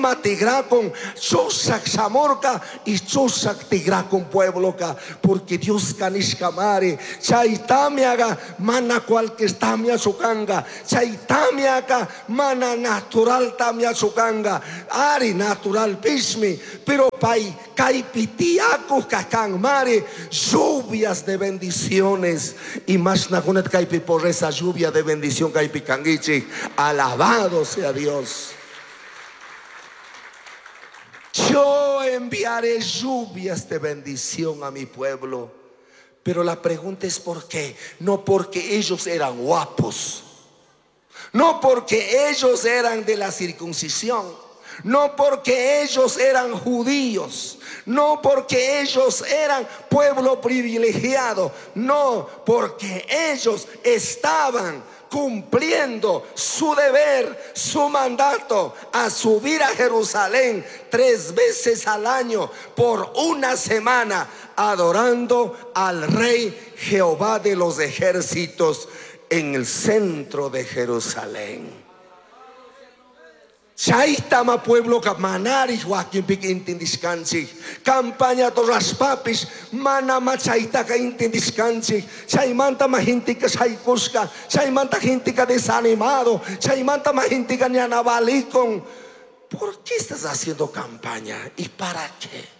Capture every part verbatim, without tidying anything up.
Wasima tigrakun chushak shamurka y chushak tigrakun puebloka, porque Dios nishkamari chay tamiaga mana cualquier tamia chukanga, chay tamiaka mana natural tamia chukanga, ari natural pishmi, pero pay kaypi tiyakuj kakan mari lluvias de bendiciones y más nakunat kaypi por esa lluvia de bendición kaypi kangichik. Alabado sea Dios. Yo enviaré lluvias de bendición a mi pueblo. Pero la pregunta es ¿por qué? No porque ellos eran guapos, no porque ellos eran de la circuncisión, no porque ellos eran judíos, no porque ellos eran pueblo privilegiado, no, porque ellos estaban cumpliendo su deber, su mandato a subir a Jerusalén tres veces al año por una semana, adorando al Rey Jehová de los ejércitos en el centro de Jerusalén. Chaytama pueblo ka manari wakinpika intindishkanchik, campaña rashpapish mana machaytaka intindishkanchik, chaymanta ma gentika shaykushka, chaymanta gentika desanimado, chaymanta ma gentika ñanabalikon. ¿Por qué estás haciendo campaña? ¿Y para qué?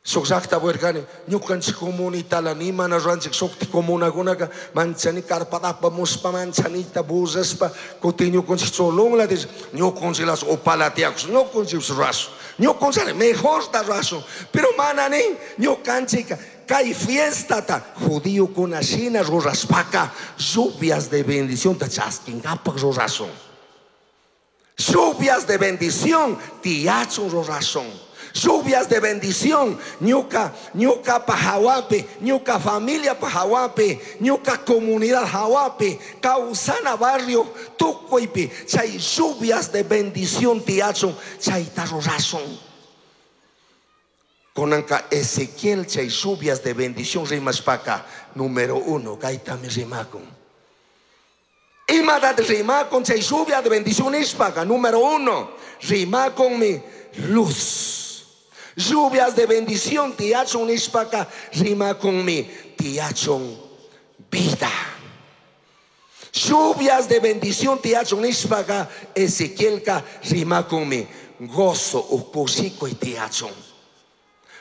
Shuk llaqta purirkani, ñukanchik comunitala nimana ruranchik shukti comunakunaka manchani karpatapa muspa manchanita bullashpa kutin ñukanchik cholunla dish ñukanchiklas upala tiyakush ñukanchik rurashun ñukanchik mejorta rurashun, pero mana nin ñukanchika kay fiestata judíokuna shina rurashpaka lluvias de bendición ta chaskinkapak rurashun, lluvias de bendición tiyachun rurashun. Lluvias de bendición, ñuka, ñuka pajawapi, ñuka familia pajawapi, ñuka comunidad jawapi, causana barrio tukuipi, chay lluvias de bendición tiachun, chay tarrurashun. Konanka Ezequiel chay lluvias de bendición rimashpaka, número uno, kaytami rimakun. Imadat rimakun chay lluvia de bendición ishpaka, número uno, rimakun mi luz. Lluvias de bendición tiachun ishpaka rima con mi tiachun vida. Lluvias de bendición tiachun ishpaka Ezequielka rima con mi gozo ukushiko y tiachun.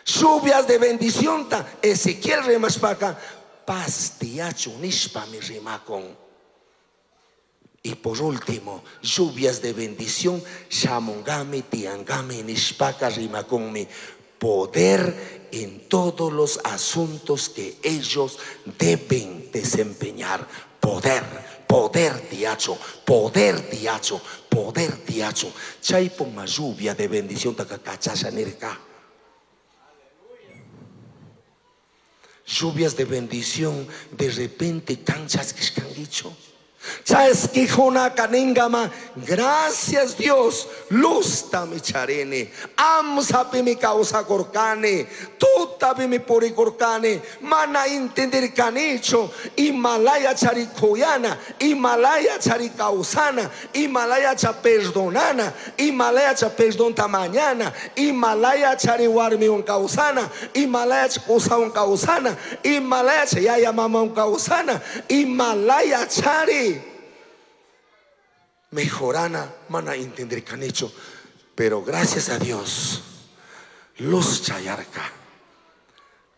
Lluvias de bendición ta Ezequiel rimashpaka paz tiachun ishpa mi rima con. Y por último, lluvias de bendición, shamungami, tiangami, nishpaka, rimakonmi, poder en todos los asuntos que ellos deben desempeñar. Poder, poder tiacho, poder tiacho, poder tiacho. Chaypon ma lluvia de bendición takakachasha nirka. Lluvias de bendición, de repente canchas que dicho. Gracias Dios, luz tami charene, amsapi mi causa corcane, tutapi mi puricorcane, mana entender canicho, Himalaya charikoyana, Himalaya charicausana, Himalaya cha perdonana, Himalaya cha perdón tamañana, Himalaya chariwarmi un causana, Himalaya cha un causana, Himalaya cha yaya mama un causana, Himalaya chari mejorana, mana entender canicho, pero gracias a Dios, luz chayarka,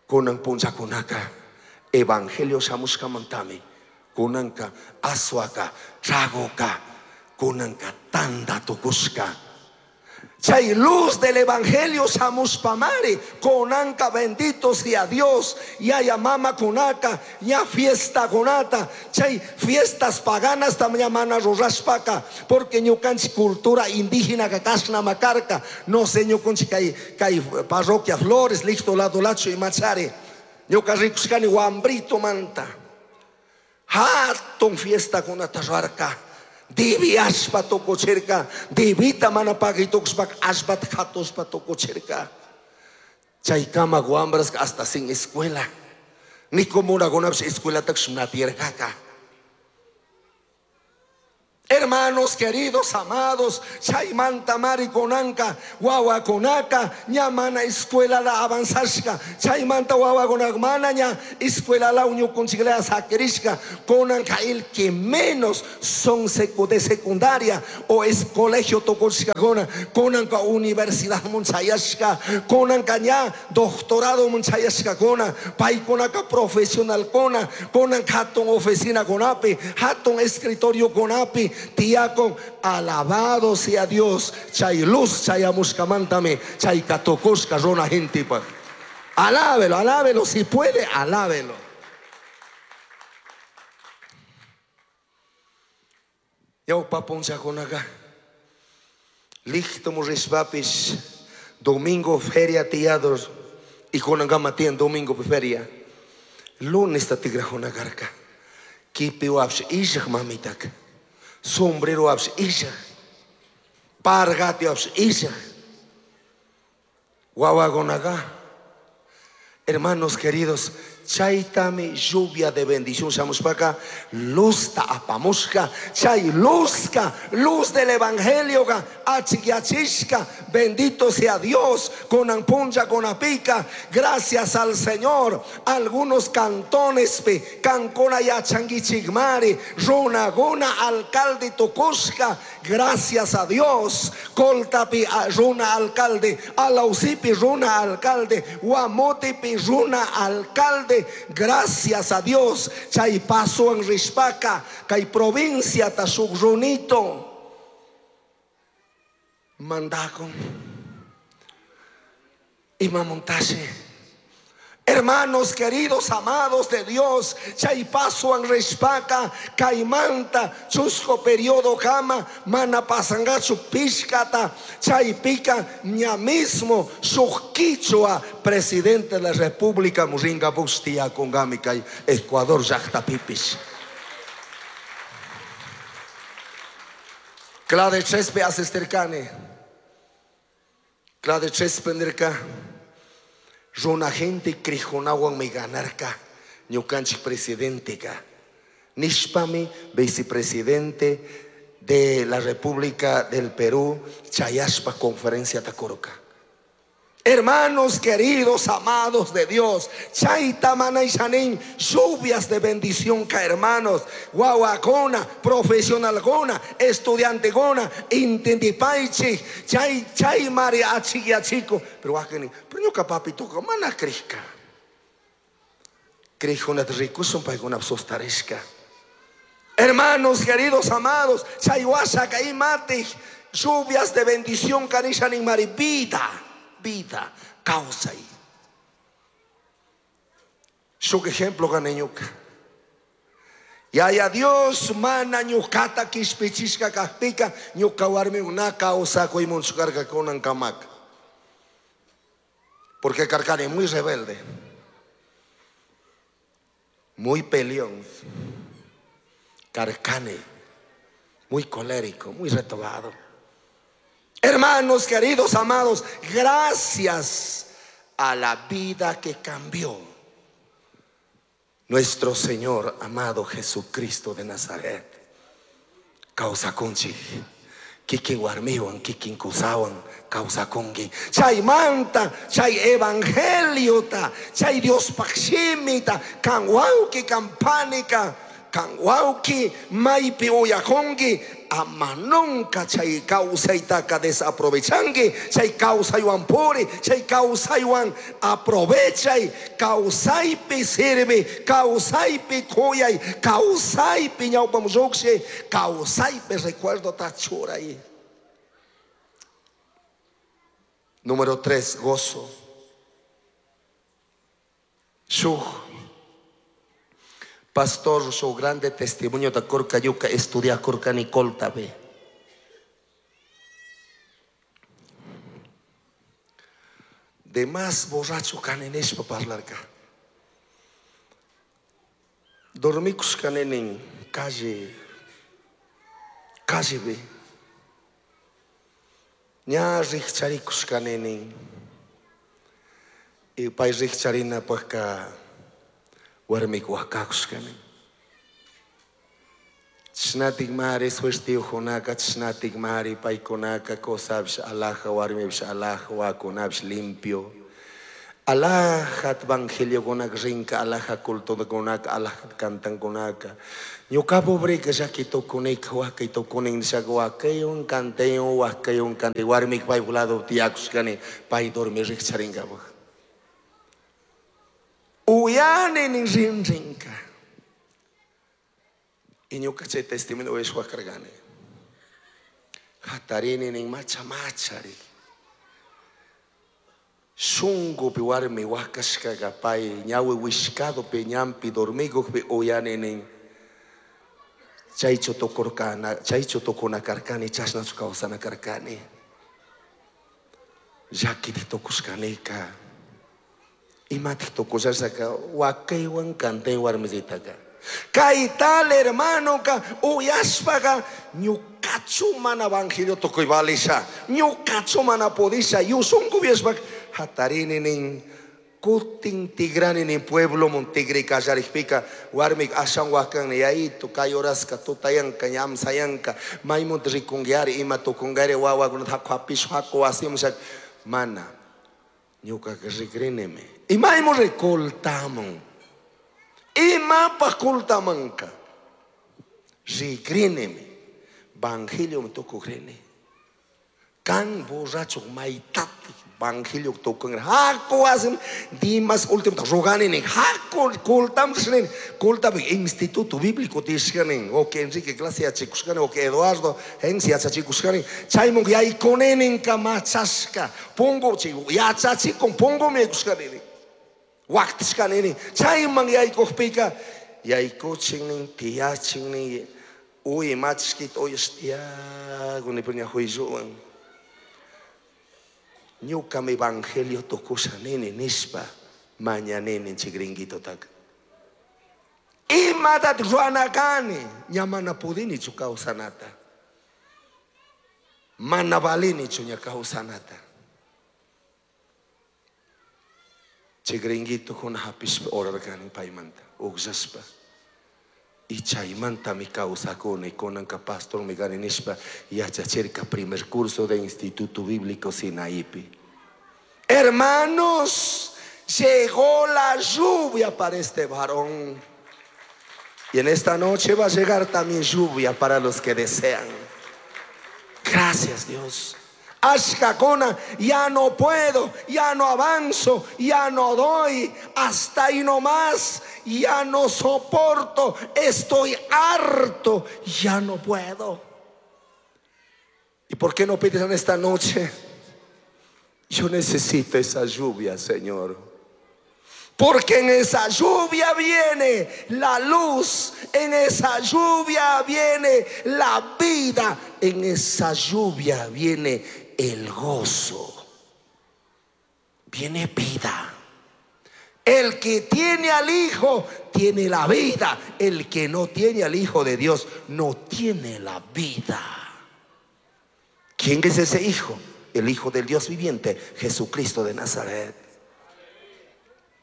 kunan punchakunaka, evangelio shamushkamantami, kunanka aswaka, tragoka, kunanka tanda tukushka. Chay luz del evangelio samuspamari, konanka bendito sea Dios, ya ya mama kunaka, ya fiesta kunata, chay fiestas paganas también mana rurashpaka, porque ñukanchi cultura indígena kakashna makarka, no sé ñukanchi kay kay parroquia Flores, listo lado lacho y machare, ñuka rikushkani wambrito manta, hatun fiesta kunata ruarka. Divi aspa tokocherka, divita manapagi tokspak aspat hatospa tokocherka. Chaykama guambras hasta sin escuela. Ni como una escuela taxunatierkaka. Hermanos queridos, amados, chaymanta marikunanka, wawakunaka, ña mana escuela la avanzashka, chaymanta wawakunak mana ña escuela la uñukunchiklaya sakirishka, kunanka el que menos son de secundaria o es colegio tukushkakuna, kunanka universidad munchayashka, kunanka ña doctorado munchayashkakuna, paykunaka profesional kuna, kunanka hatun oficina kunapi, hatun escritorio kunapi, tiyakun, alabado sea Dios, chay luz chayamushkamantami, chay katukushka runa gentipaj. Alábelo, alábelo, si puede, alábelo. Ñawpa punchakunaka, listo murishpapis, domingo feria tiyados, y kunankama tiyan domingo feria. Lunes ta tigrajunakarka, kipiwapsh ishak mamitaka, sombrero apsh ishak, pargati apsh ishak, wawakunaga. Hermanos queridos, chaytami lluvia de bendición shamushpaka, luzta apamushka, chay luzka, luz del evangelio ga, achikyachishka, bendito sea Dios, con ampuncha, con apica, gracias al Señor. Algunos cantones pe, cancona yachanguichigmari, runaguna alcalde tukushka, gracias a Dios, coltapi runa alcalde, alausipi runa alcalde, guamotipi runa alcalde, gracias a Dios, chay paso en Rishpaka, kay provincia tashugrunito, mandakon, imamontaje. Hermanos queridos, amados de Dios, chay paso en Rishpaka, caimanta, chusco periodo kama, mana pasangachu pishkata, chay pica, ña mismo, suquichua, presidente de la República, Muringa Bustia, con kay Ecuador, llaqta pipis. Clade chespe asistercane, clade chespe nirka. Runa gente crijonawan mi ganarka, ñukanchik presidente ka. Nishpami, vicepresidente de la República del Perú, chayashpa conferencia takuruka. Hermanos queridos, amados de Dios, chayta manay shanin, lluvias de bendición ka hermanos, guaguacona, profesional gona, estudiante gona, intendipaichi, chay chay mari achiquiachico, pero akeni, pero ñuka papito mana crishka. Crijuna rikusun paykuna sostarishka. Hermanos queridos, amados, chaywasha kaimati, lluvias de bendición kanishanin mari vida. Vida, causa y su ejemplo ganeñuca. Ya ya Dios mana ñucata quishpichishka kajpika ñuka warmi una causa kuymunchukarka kunan kamak. Porque Carcani muy rebelde, muy peleón, Carcani muy colérico, muy retobado. Hermanos queridos, amados, gracias a la vida que cambió nuestro Señor amado Jesucristo de Nazaret. Causa conchi, kikin warmiwan, kikin kusawan, causa congi. Chay manta, chay evangeliota, chay Dios pakshimita, kanwauki kampanika, kanwauki maipi oyakongi, ama nunca chay kawsaytaka desaprovechanki, chay kawsaywan puri, chay kawsaywan aprovechay, kawsaypi sirvi, kawsaypi kuyay, kawsaypi ñawpam lluqshi, kawsaypi recuerdo tachuray. Número tres, gozo. Shuk pastor, su grande testimonio de Corca Yuca, estudia Corca Nicole tabe. De más borracho caneneshpa parlarka. Dormicus canenen calle, calle be. Ña richaricus canenen. Y pay richarina pues ka warmik wakakushkani. Chashnatik mari suertiyujunaka, chashnatik mari paykunaka kusapish alaja, warmipish alaja, wawakunapish limpio. Alajat evangeliokunaka rinka, alaja cultokunaka, alajat cantankunaka. Ñuka pobreka llaki tukunika, wakay tukunin nishaka wakaywan cantaywan, wakaywan cantay. Warmika paypak lado tiyakushkani, pay dormir rikcharinkapak. Uyani nin rin rinka. Y ñuka chay testimonio uyashpa karkani. Hatarini nin macha machari. Shunkupi warmi wakashkaka pay ñawi wishkadopi ñampi dormikukpi uyani nin. Chaychu tukurkana, chaychu tukuna karkani, chashnachu kawsana karkani. Llakiti tukushkanika. Imatik tukushashaka wakaywan cantay warmisitaka. Kay tal hermano ka uyashpaka ñukachu mana evangelio tukuy valisha, ñukachu mana pudisha, yusunku vieshpak hatarini nin kutin tigrani nin pueblo mun tigri kallarikpika warmik ashan wakan yayito kay horaska tutayanka ñamsayanka maymunta rikunguiari ima tukungari wawakunata haku hapish haku wasimun mana ñukaka rikrinimi imaymun rikultamun imapaj kultamanka rikrinimi evangelio tukukrini kan borracho maytati evangelio tukungra haku wasim dimas último rogani nin haku kultam nin kultapi instituto bíblico tishkanin o que Enrique clase yachikushkani o que Eduardo Hensi yachachikushkani chaymun yaykuninin kamachashka pungu yachachikun pungumi yaykushkani waktishkanini chayman yaykukpika yaykuchin tiyachin nin uy machkita uyash tiyakuni pero ña juilluwan ñukami evangelio tukusha nini nishpa mañanini chay gringuitotaka. Imatat ruana kani ña mana pudinichu kawsanata. Mana valinichu ña kawsanata. Chay gringuito kuna hapishpa orarkani paymanta ukllashpa. Y chaymantami kawsakuni kunanka pastormi kani nishpa yachachirka primer curso de Instituto Bíblico Sinaipi. Hermanos, llegó la lluvia para este varón. Y en esta noche va a llegar también lluvia para los que desean. Gracias, Dios. Ashkakuna, ya no puedo, ya no avanzo, ya no doy, hasta ahí nomás, ya no soporto, estoy harto, ya no puedo. ¿Y por qué no pides en esta noche? Yo necesito esa lluvia, Señor. Porque en esa lluvia viene la luz, en esa lluvia viene la vida, en esa lluvia viene el gozo, viene vida. El que tiene al Hijo tiene la vida, el que no tiene al Hijo de Dios no tiene la vida. ¿Quién es ese Hijo? El Hijo del Dios viviente, Jesucristo de Nazaret.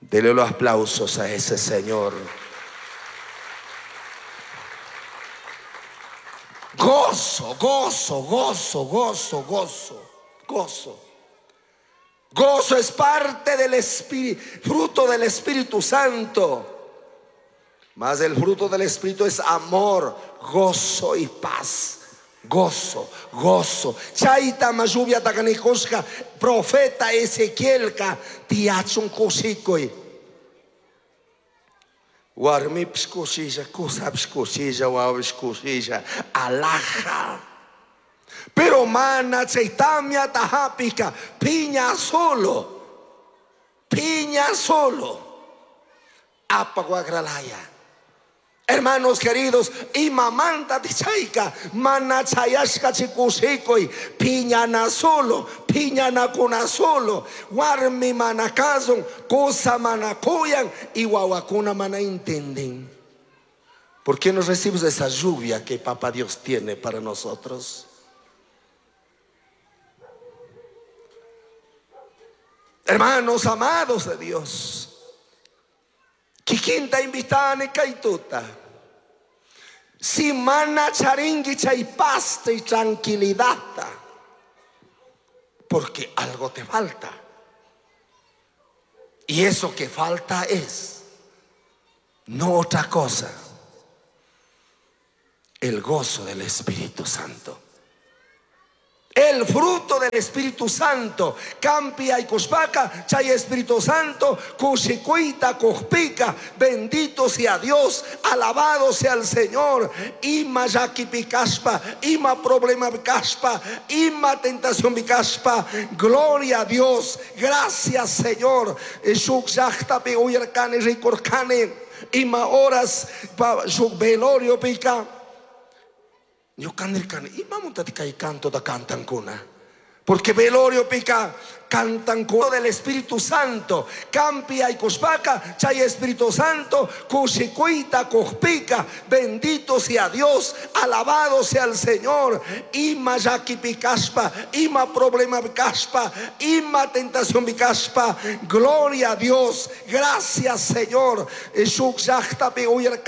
Dele los aplausos a ese Señor. Gozo, gozo, gozo, gozo, gozo, gozo. Gozo es parte del Espíritu, fruto del Espíritu Santo. Mas el fruto del Espíritu es amor, gozo y paz. Gozo, gozo. Chayta lluvia takanikushka profeta Ezequielka tiyachun kushikuy. Warmipish kushilla, kusapish kushilla, wawapish kushilla, alaja. Pero mana chay tamyata hapika piña solo, piña solo, apaguagralaya. Hermanos queridos, imamanta tichayka, mana chayashka chikushikuy, piñana solo, piñana kuna solo, warmi mana kazun, kusa mana kuyan, y wawakuna mana intenden. ¿Por qué no recibes esa lluvia que Papá Dios tiene para nosotros? Hermanos amados de Dios, kikinta invitane kaituta. Si mana charinki chay paz y tranquilidad, porque algo te falta. Y eso que falta es no otra cosa, el gozo del Espíritu Santo. El fruto del Espíritu Santo. Canpi yaicushpaca, chay Espíritu Santo, cushicuyta, cujpica, bendito sea Dios, alabado sea el Señor. Ima llaquipi cashpa, ima problema cashpa, ima tentación cashpa. Gloria a Dios, gracias Señor. Shuk llajtapi uyarcani ricurcani, ima horas shuk velorio pica. Ñuka nirkani, imamantati kay cantota cantankuna. Porque velorio pica cantan con del Espíritu Santo. Canpi yaicushpaca, chay Espíritu Santo, cushicuyta, cujpica, bendito sea Dios, alabado sea el Señor. Ima llaquipi cashpa, ima problema cashpa, ima tentación cashpa. Gloria a Dios, gracias Señor. Shuk llajtapi uyarcani.